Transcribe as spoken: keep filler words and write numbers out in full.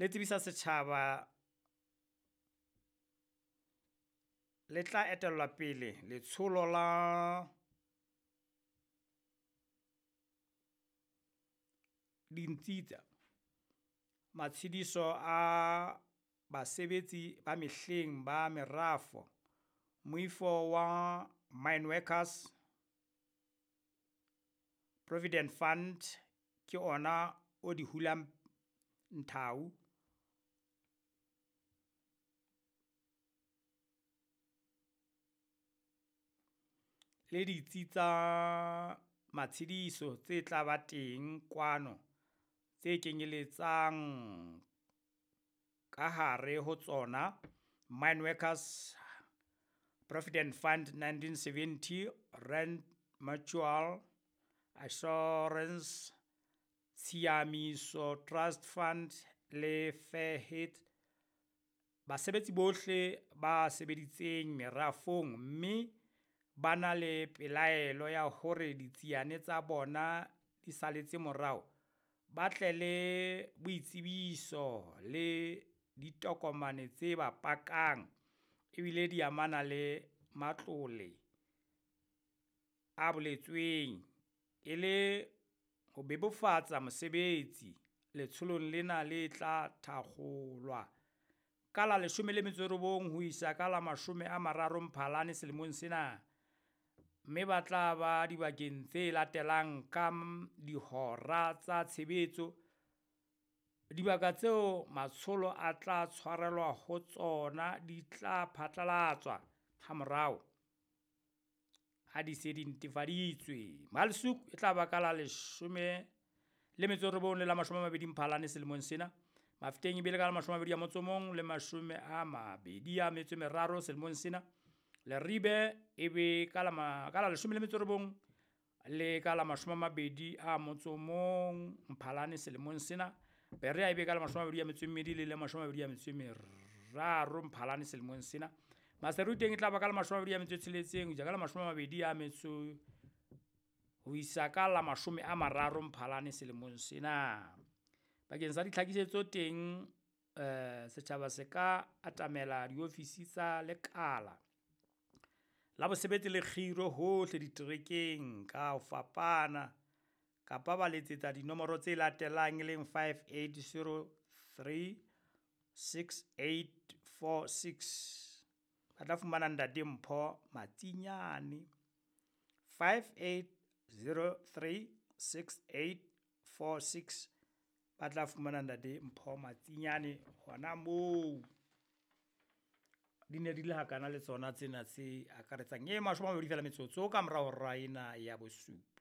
Le tsebisa setjhaba le tla etellwa pele letsholo la ditsi tsa matshediso a basebetsi ba mehleng ba merafo, Moifo wa Mineworkers Provident Fund ke ona o di hulang nthau. Le ditsi tsa matshediso tse tla ba teng kwano tse kenyeletsang kahare ho tsona Mineworkers Provident Fund nineteen seventy, Rand Mutual Assurance, Tshiamiso Trust Fund le Fair Head. Basebetsi bohle ba sebeditseng merafong mme ba na le pelaelo ya hore ditsiane tsa bona di saletse morao, ba tle le boitsebiso le ditokomane tse ba pakang ebile di amana le matlole a boletsweng. E le ho bebofatsa mosebetsi, letsholo lena le tla thakgolwa ka la leshome le metso e robong ho isa ka la mashome a mararo Mphalane selemong sena, mme ba tla ba dibakeng tse latelang ka dihora tsa tshebetso. Dibaka tseo matsholo a tla tshwarelwa ho tsona di tla phatlalatswa hamorao ha di se di netefaditswe. Malsuk e tla ba ka la leshome le metso e robong le la mashome a mabedi Mphalane selemong sena. Mafeteng e bile ka la mashome a mabedi a motso o mong le mashome a mabedi a metso e meraro selemong sena. Leribe e be ka la ma, ka la leshome le metso e robong le ka la mashome a mabedi a motso o mong Mphalane selemong sena. Berea e be ka la mashome a mabedi a metso e mmedi le le mashome a mabedi a metso e meraro Mphalane selemong sena. Maseru teng e tla ba ka la mashome a mabedi a metso e tsheletseng ho isa ka la mashome a mabedi a metso ho isa ka la mashome a mararo Mphalane selemong sena. Bakeng sa ditlhakisetso teng eh, setjhaba se ka atamela diofisi tsa lekala la bosebetsi le kgiro hohle diterekeng ka ho fapana, kapa ba letsetsa dinomoro tse latelang e leng five eight zero three six eight four six. Ba tla fumana Ntate Mpho Matsinyane, five eight zero three six eight four six. Ba tla fumana Ntate Mpho Matsinyane hona moo. Di ne di le hakana le tsona tsena tse akaretsang e mashome a mabedi fela metsotso ka mora hora ena ya bosupa.